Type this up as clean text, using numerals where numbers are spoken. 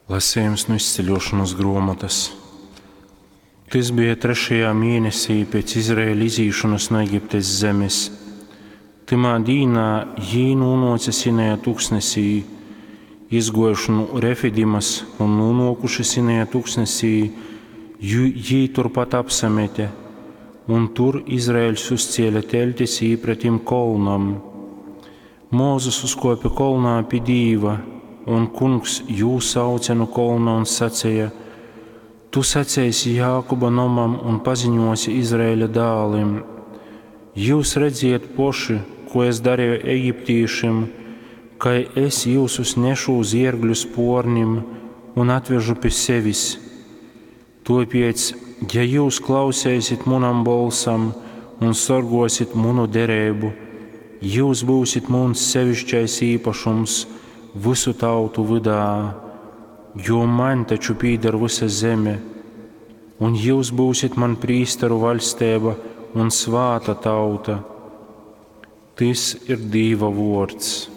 Lasījums nu izceļošanas gruomotas. Tys bija trešajā mēnesī pēc Izraēla izīšanas nu Egiptes zemes. Tymā dīnā jī nūnōce Sinaja tuksnesī, izgōjuši nu Refidimas un nūnōkuši Sinaja tuksnesī, jī turpat apsamete, un tur Izraeļs uzcēle teļtis īpretim kolnam. Mozus uzkōpe kolnā pi Dīva, un Kungs jū sauce nu kolna un saceja: Tu saceisi Jākuba nomam un paziņosi Izraeļa dālim: Jyus redziet poši, ko es dareju egiptīšim, kai es jyusus nešu uz iergļu spōrnim un atvežu pi sevis. Tōpēc, ja jyus klauseisit munam bolsam un sorgōsit munu dereibu, jyus byusit muns seviškais īpašums vysu tautu vydā, jo maņ taču pīder vysa zeme, un jyus byusit man prīsteru vaļsteiba un svāta tauta. Tys ir Dīva vōrds.